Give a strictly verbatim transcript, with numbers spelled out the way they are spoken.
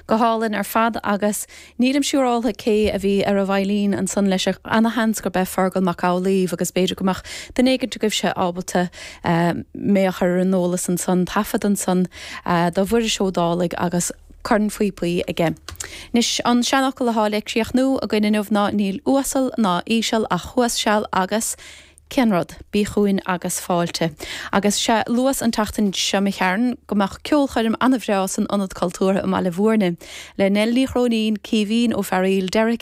Go hálainn ar fad agus nílim siúráilte cé a bhí ar an veidhlín ansan leis ana-sheans gurb é Fergal Mac Amhlaoibh agus b'fhéidir go mbeadh duine éigin agaibhse ábalta mé a chur ar an eolas ansan taifead ansan do Mhuiris Ó Dálaigh agus cornphíopaí aige. Anois an seanfhocal atá le críochnú againn inniu ná níl uasal ná íseal ach thuas seal agus cén rud, bí chugainn agus fáilte. Agus sé luas an tseachtain seo mo Sharon go mbeadh ceolchoirm an-bhreá san Ionad Cultúrtha i mBaile Bhúirne. Le Nell Ní Chróinín, Caoimhín Ó Fearaíl, Derek